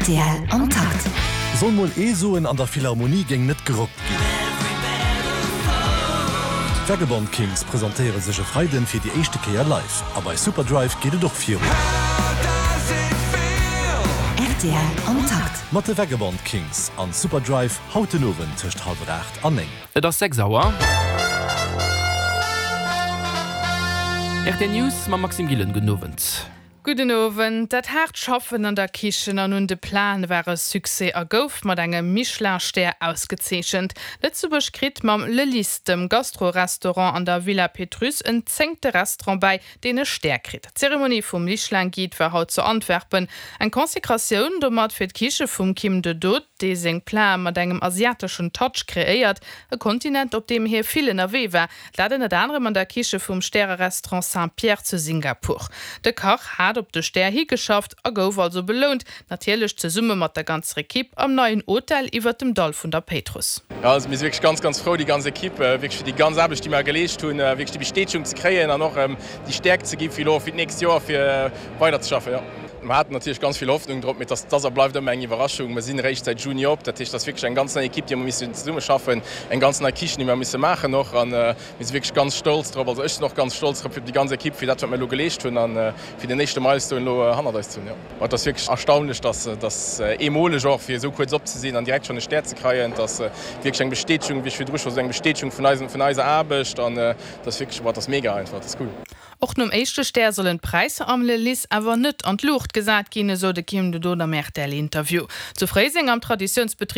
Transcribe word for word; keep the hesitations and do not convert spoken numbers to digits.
Rtl am Takt. Soll mol ee soen, an der Philharmonie géing net gerockt ginn. D'Vagabond Kings presentéiere sech e Freiden fir déi éischte Kéier live. A bei Superdrive geet et och virun. Rtl am Takt. Mat de Vagabond Kings an Superdrive haut den Owend tëscht hallwer aacht an néng. Et ass sechs Auer. Rtl News mam Maxime Gillen. Gudden Owend. Gudden Owend. Dat haart Schaffen an der Kichen an un de Platen war e Succès a gouf mat engem Michelin-Stär ausgezeechent. Lëtzebuerg kritt mam Le Lys, dem Gastro-Restaurant an der Villa Pétrusse, en zéngte Restaurant bäi, deen e Stär kritt. D'Zeremonie vum Michelin-Guide war haut zu Antwerpen. Eng Konsekratioun domat fir d'Kiche vum Kim de Dood, dee seng Platen mat engem asiateschen Touch kreéiert, e Kontinent, op deem hie vill ënnerwee war. Dat ënnert anerem an der Kiche vum Stärerestaurant Saint-Pierre zu Singapur. De Kach hat op de Stär higeschafft a gouf also belount, natierlech zesumme mat der ganzer Ekipp am neien Hotel iwwer dem Dall vun der Péitruss. Jo, also mir si wierklech ganz, ganz frou, déi ganz Ekipp, wierklech fir déi ganz Aarbecht, déi mer geleescht hunn, wierklech déi Bestätegung ze kréien an och déi Stäerkt ze gi fir elo fir d'nächst Joer fir weiderzeschaffen, jo. Mer haten natierlech ganz vill Hoffnung drop, mee et ass a bleift ëmmer eng Iwwerraschung. Mer sinn eréischt säit Juni op, dat heescht, et ass wierklech eng ganz nei Ekipp, déi mer missen zesummeschaffen, eng ganz nei Kichen, déi mer misse maachen och. A mir si wierklech ganz stolz drop, also ech sinn och ganz stolz drop fir déi ganz Ekipp, fir dat wat mer elo geleescht hunn a fir den éischte Milestone elo hannert eis ze hunn, jo. Ma et ass wierklech erstaunlech, dass dass eemoleg och fir esou kuerz op ze sinn an direkt schonn e Stär ze kreien. Et ass wierklech eng Bestätegung, wéi ech virdru scho sot, eng Bestätegung vun eisem, vun eiser Aarbecht an et ass wierklech, boah, et ass mega einfach, et ass cool. Och nom éischte Stär sollen d'Präisser am Le Lys awer net an d'Luucht gesat ginn, esou de Kim de Dood am R T L-Interview. Zu Fréiseng am Traditiounsbetrib